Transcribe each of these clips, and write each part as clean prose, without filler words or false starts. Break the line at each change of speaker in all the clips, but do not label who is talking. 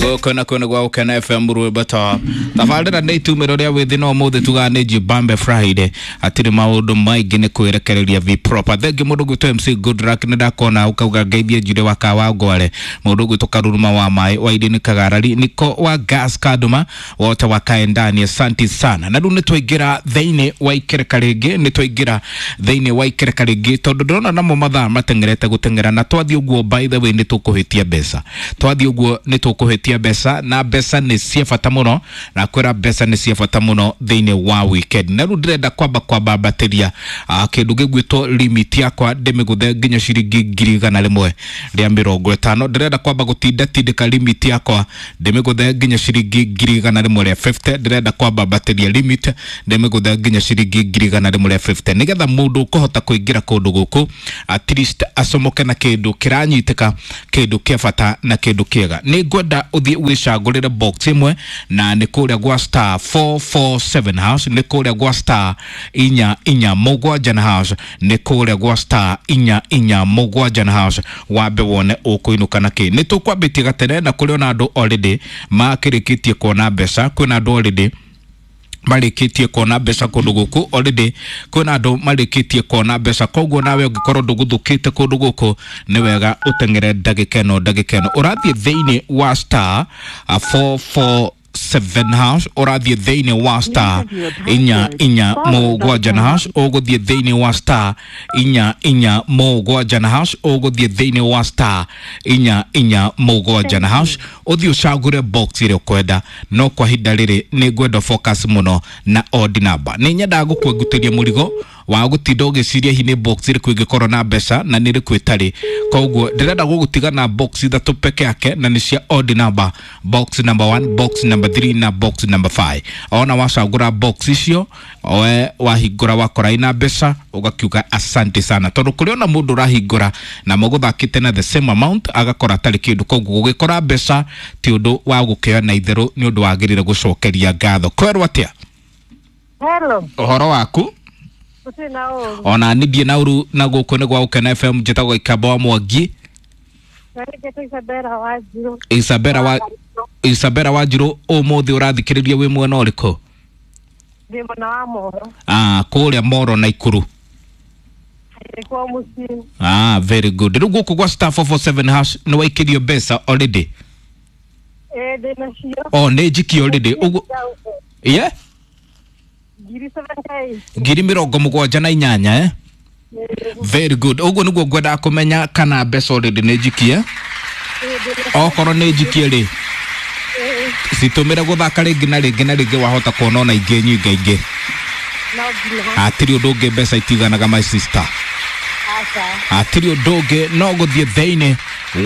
Gũkũ na kwĩna gwa Gũkena FM rwĩmbo ta tabarĩra nĩ itumĩro rĩa wĩthĩ no ũmũthĩ tugaga nĩ Jibambe Friday, hatirĩ maũndũ maingĩ nĩ kwĩrekereria v proper. Thengi mũndũ gwitũ MC Goodluck, nĩ ndakona ũkauga ngeithie Njure wa Kawa Ngware, mũndũ gwitũ Karuruma wa maĩ wa Irini Kagarari, Niko wa Gas Kaduma, wote wa Kaendani, asante sana. Na rĩu nĩ twaingĩra thĩinĩ wa ikereka rĩngĩ, nĩ twaingĩra thĩinĩ wa ikereka rĩngĩ tondũ ndĩrona namo mathaa mateng'erete gũteng'era, na twathiĩ ũguo by the way nĩ tũkũhĩtia mbeca, twathiĩ ũguo nĩ tũkũhĩtia mbeca, na mbeca nĩ cia bata mũno, na kwĩra mbeca nĩ cia bata mũno thĩinĩ wa weekend. Na rĩu ndĩrenda kwamba kwambambatĩria kĩndũ gĩgwĩtwo limit yakwa ndĩmĩgũthe nginya ciringi 150,000. Ndĩrenda kwamba gũtinda tindĩka limit yakwa ndĩmĩgũthe nginya ciringi 150,000. Ndĩrenda kwambambatĩria limit ndĩmĩgũthe nginya ciringi 150,000 nĩgetha mũndũ ũkũhota kũingĩra kũndũ gũkũ at least acomoke na kĩndũ kĩranyitĩka, kĩndũ kĩa bata na kĩndũ kĩega. Nĩ ngwenda ũthiĩ wĩcagũrĩre box ĩmwe, na nĩ kũrĩa gwa star 447 house, nĩ kũrĩa gwa star 447 na house, nĩ kũrĩa gwa star 447 na house, wambe wone ũkũinũka na kĩ. Nĩ tũkwambĩtie gatene na kũrĩ ona andũ already makĩrĩkĩtie kuona mbeca, kwĩna andũ already marĩkĩtie kuona mbeca kũndũ gũkũ, already kwĩna andũ marĩkĩtie kuona mbeca. Koguo nawe ũngĩkorwo ndũgũthũkĩte kũndũ gũkũ nĩ wega ũteng'ere ndagĩka ĩno, ndagĩka ĩno ũrathiĩ thĩinĩ wa star 447 hash, ũrathiĩ thĩinĩ wa star 447 na hash, ũgũthiĩ thĩinĩ wa star 447 na hash, ũgũthiĩ thĩinĩ wa star 447 na hash, ũthiĩ ũcagũre box ĩrĩa ũkwenda. No kwa ihinda rĩrĩ nĩ ngwenda focus mũno na odd number. Nĩ nyendaga gũkwengutĩria mũrigo wa gũtinda ũgĩciria hihi nĩ box ĩrĩkũ ĩngĩkorwo na mbeca na nĩ ĩrĩkũ ĩtarĩ. Koguo ndĩrenda gũgũtiga na box ithatũ peke yake, na nĩ cia odd number: box number 1, box number 3 na box number 5. Ona wacagũra box icio, we wahingũra wakora ina mbeca, ũgakiuga asante sana, tondũ kũrĩ ona mũndũ ũrahingũra na mũgũthakĩte na the same amount agakora atarĩ kĩndũ. Koguo gũgĩkora mbeca ti ũndũ wa gũkĩoya na itherũ, nĩ ũndũ wagĩrĩire gũcokeria ngatho. Kwerwo atĩa?
Hello.
Ũhoro waku?
Gũtirĩ na ũru.
Ona niĩ ndirĩ na ũru, na gũkũ nĩ gwa Gũkena FM, njĩtagwo Ikamba wa Mwangi.
Na nĩ njĩtwo Isabella Wanjiru.
Isabella wa Isabella Wanjiru, ũmũthĩ ũrathikĩrĩria wĩ mwena ũrĩkũ?
Ndĩ mwena wa Moro.
Ah, kũrĩa Moro na Ikuru.
Nĩkuo mũciĩ.
Ah, very good. Rĩu gũkũ gwa star 447 hash nĩ waikĩrio mbeca already?
Ĩĩ, ndĩ nacio.
O nĩ njikie already ũguo? Yeah.
78,000.
78,000, eh? Very good. Ũguo nĩguo ngwendaga kũmenya kana mbeca already nĩ njikie. Okorwo nĩ njikie rĩ, citũmĩre gũthaka rĩngĩ na rĩngĩ na rĩngĩ, wahota kuona ona ingĩ nyingaingĩ.
No nginya.
Hatirĩ ũndũ ũngĩ, mbeca itiganaga, my sister.
Aca.
Hatirĩ ũndũ ũngĩ no gũthiĩ thĩinĩ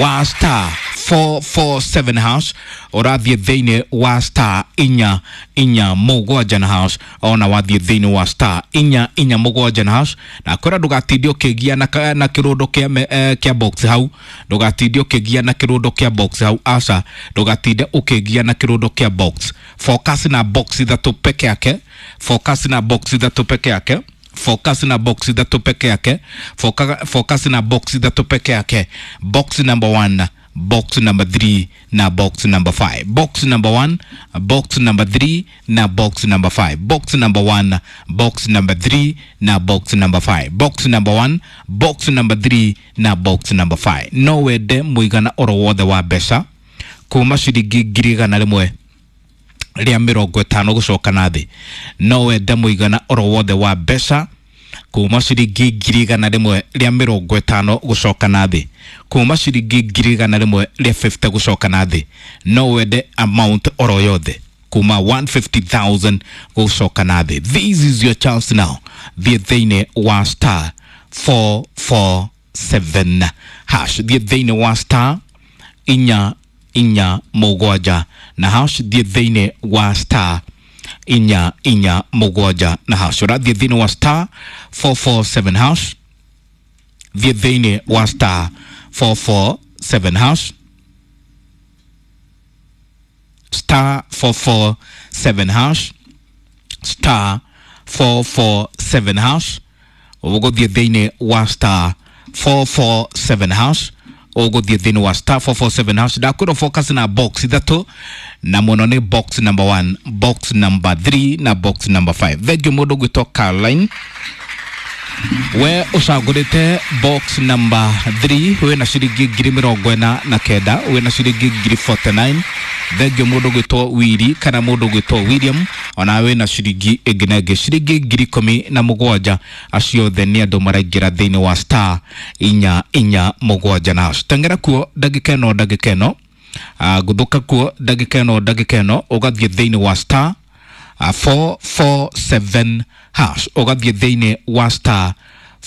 wa star 447 hash, ũrathiĩ thĩinĩ wa star 447 na hash. Ona wathiĩ thĩinĩ wa star 447 na hash, na kwĩra ndũgatinde ũkĩgia na kĩrũndo kĩa kĩa box hau, ndũgatinde ũkĩgia na kĩrũndo kĩa box hau, aca, ndũgatinde ũkĩgia na kĩrũndo kĩa box. Focus na box ithatũ peke yake, focus na box ithatũ peke yake, focus na box ithatũ peke yake, focus na box ithatũ peke yake: box number 1, box number 3 na box number 5. Box number 1, box number 3 na box number 5. Box number 1, box number 3 na box number 5. Box number 1, box number 3 na box number 5. No wende mũigana oro wothe wa mbeca kuma ciringi 150,000 gũcoka na thĩ. No wende mũigana oro wothe wa mbeca kuma ciringi 150,000 gũcoka na thĩ, kuma ciringi 150,000 gũcoka na thĩ. No wende amount oro yothe kuma 150,000 gũcoka na thĩ. This is your chance now. Thiĩ thĩinĩ wa star 447 hash, thiĩ thĩinĩ wa star 447 na hash, thiĩ thĩinĩ wa star 447 na hash. Ũrathiĩ thĩinĩ wa star 447 hash, thiĩ thĩinĩ wa star 447 hash, star 447 hash, star 447 hash. Ũgũthiĩ thĩinĩ wa star 447 hash. Ũgũthiĩ thĩinĩ wa star 447 hash. Ndakwĩrwo focus na box ithatũ, na mũno nĩ box number 1, box number 3 na box number 5. Thengiũ mũndũ ũgwĩtwo Caroline, we ũcagũrĩte box number 3, wĩna ciringi 49,000, wĩna ciringi 49,000. Thengio mũndũ ũgwĩtwo Wiri kana mũndũ ũgwĩtwo William, ona wĩna ciringi ĩngĩ na ĩngĩ ciringi 17,000. Acio othe nĩ andũ maraingĩra thĩinĩ wa star 447 na hash. Teng'era kuo ndagĩka ĩno, ndagĩka ĩno. Gũthũka kuo ndagĩka ĩno, ndagĩka ĩno. Ũgathiĩ thĩinĩ wa star 447 hash, ũgathiĩ thĩinĩ wa star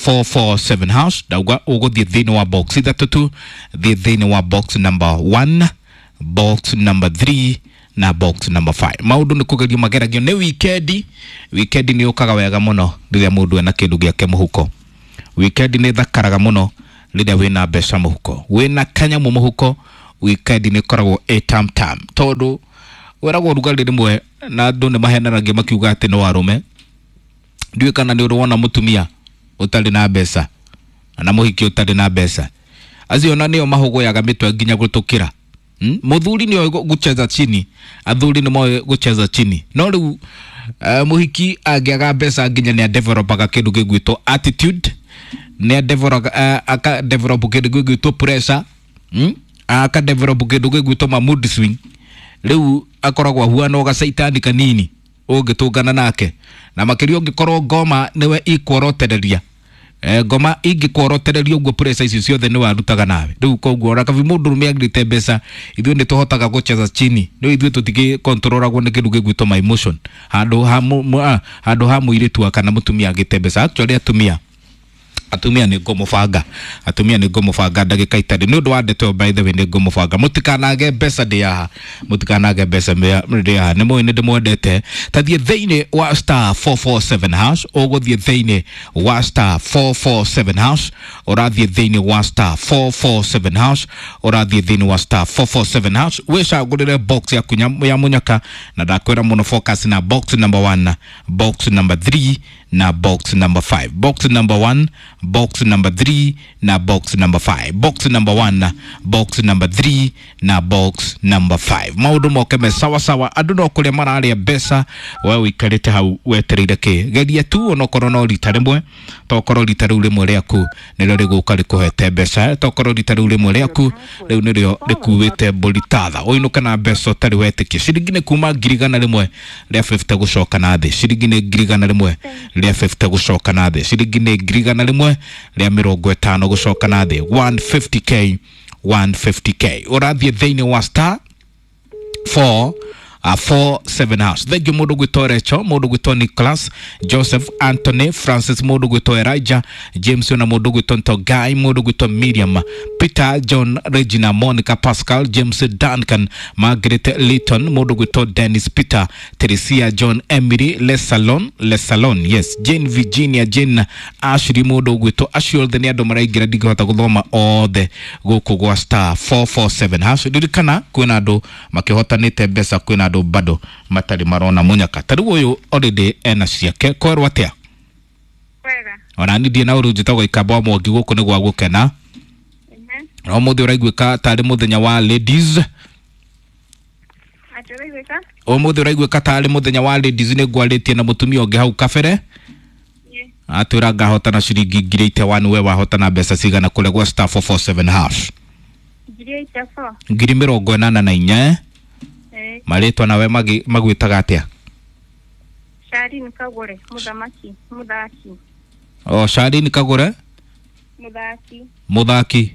447 hash. Ndauga ũgũthiĩ thĩinĩ wa box ithatũ tu. Thiĩ thĩinĩ wa box number 1, box number 3 na box number 5. Maũndũ nĩ kũgerio mageragio nĩ wikendi. Wikendi nĩ yũkaga wega mũno rĩrĩa mũndũ ena kĩndũ gĩake mũhuko. Wikendi nĩ thakaraga mũno rĩrĩa wĩna mbeca mũhuko, wĩna kanyamũ mũhuko. Wikendi nĩ ĩkoragwo ĩ tam tam, tondũ wĩragwo ũrugarĩ rĩmwe na andũ nĩ mahenanagia makiuga atĩ no arũme. Ndiũĩ kana nĩ ũrĩ wona mũtumia ũtarĩ na mbeca na mũhiki ũtarĩ na mbeca, acio ona nĩo mahũgũyaga mĩtwe nginya gũtũkĩra. Mũthuri nĩoĩ gũcheza chini, athuri nĩ moĩ gũcheza chini, no rĩu mũhiki angĩaga mbeca nginya nĩ adevelopaga kĩndũ gĩgwĩtwo attitude, nĩ aka develop kĩndũ gĩgwĩtwo pressure, Aka develop kĩndũ gĩgwĩtwo ma mood swing. Rĩu akoragwo ahuana o gacaitani kanini ũngĩtũngana nake, na makĩria ũngĩkorwo ngoma nĩwe ikworotereria. Ngoma ingĩkworotereria ũguo, pressure icio ciothe nĩ warutaga nawe. Rĩu koguo ona kabi mũndũ ũrũme agĩrĩte mbeca, ithuĩ nĩ tũhotaga gũcheza chini, nĩ ithuĩ tũtigĩkontrolagwo nĩ kĩndũ gĩgwĩtwo my emotion handũ ha handũ ha mũirĩtu kana mũtumia agĩte mbeca. Actually atumia nĩ ngũmũbanga, atumia nĩ ngũmũbanga ndagĩka itarĩ nĩ ũndũ wa ndeto ĩyo. By the way, nĩ ngũmũbanga, mũtikanage mbeca ndĩ haha, mũtikanage mbeca ndĩ haha. Nĩ mũĩ nĩ ndĩmwendete. Tathiĩ thĩinĩ wa star 447 hash. Ũgũthiĩ thĩinĩ wa star 447 hash, ũrathiĩ thĩinĩ wa star 447 hash, ũrathiĩ thĩinĩ wa star 447 hash, wĩcagũrĩre box yaku ya mũnyaka. Na ndakwĩra mũno focus na box number 1, box number 3 na box number 5. Box number 1, box number 3 na box number 5. Box number 1, box number 3 na box number 5. Maũndũ moke me sawa sawa. Andũ no kũrĩa mararĩa mbeca, we ũikarĩte hau wetereire kĩ? Geria tu onokorwo no rita rĩmwe, tokorwo rita rĩu rĩmwe rĩaku nĩrĩo rĩgũka rĩkũhete mbeca, tokorwo rita rĩu rĩmwe rĩaku rĩu nĩrĩo rĩkuĩte mbũri tatha ũinũke na mbeca ũtarĩ wetĩkia. Ciringi nĩ kuma 150,000 gũcoka na thĩ. Ciringi nĩ 150,000 gũcoka na thĩ. Ciringi nĩ 150,000 gũcoka na thĩ. 150K, 150K. Ũrathiĩ thĩinĩ wa star 4 4 7 hash. Thengiũ mũndũ gwĩtwo Recho, mũndũ gwĩtwo Nicholas, Joseph, Anthony, Francis, mũndũ gwĩtwo Elijah, James, ona mũndũ gwĩtwo Ntogai, mũndũ gwĩtwo Miriam, Peter, John, Regina, Monica, Pascal, James, Duncan, Margaret, Litton, mũndũ gwĩtwo Dennis, Peter, Teresia, John, Emily, Lesalon, Lesalon, yes, Jane, Virginia, Jane, Ashley, mũndũ gwĩtwo acio othe nĩ andũ maraingĩra. Ndingĩhota gũthoma othe gũkũ gwa star 447 hash. Ririkana kwĩna andũ makĩhotanĩte mbeca, kwĩna andũ bado matarĩ marona mũnyaka. Ta rĩu ũyũ already ena ciake. Kwerwo atĩa?
Wega.
Ona ni ndiĩ na ũru. Njĩtagwo Ikamba wa Mwangi, gũkũ nĩ gwa gũkena. Na ũmũthĩ ũraiguĩka tarĩ mũthenya wa ladies.
Atĩ ũraiguĩka?
Ũmũthĩ ũraiguĩka tarĩ mũthenya wa ladies. Nĩ ngwarĩtie na mũtumia ũngĩ hau kabere, atwĩra ngahotana ciringi 81,000. We wahotana mbeca cigana kũrĩa gwa star 447 hash?
84,000.
84,000, eh?
Eh.
Marĩtwa nawe magwĩtaga atĩa?
Sharin Kagure, mũthamaki, mũthaki.
O Sharin Kagure.
Mũthaki.
Mũthaki.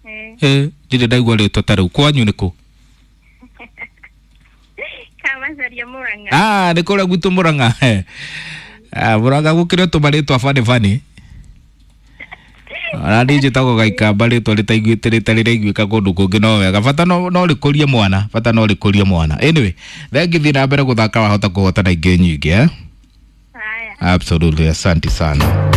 Eh.
Eh, ndirĩ ndaigua rĩtwa ta rĩu. Kwanyu nĩ kũ?
Kamacaria, Murang'a.
Ah, nĩ kũrĩa gwitũ Mũrang'a. Ah, Mũrang'a gũkĩrĩ tũmarĩtwa bani bani. Ona niĩ njĩtagwo Gaikamba, rĩtwa rĩtaiguĩte rĩtarĩ rĩaiguĩka kũndũ kũngĩ. No wega, bata no rĩkũrie mwana, bata no rĩkũrie mwana. Anyway, thengi, thiĩ na mbere gũthaka, wahota kũhotana ingĩ nyingĩ, eh?
Haya.
Absolutely, asante sana.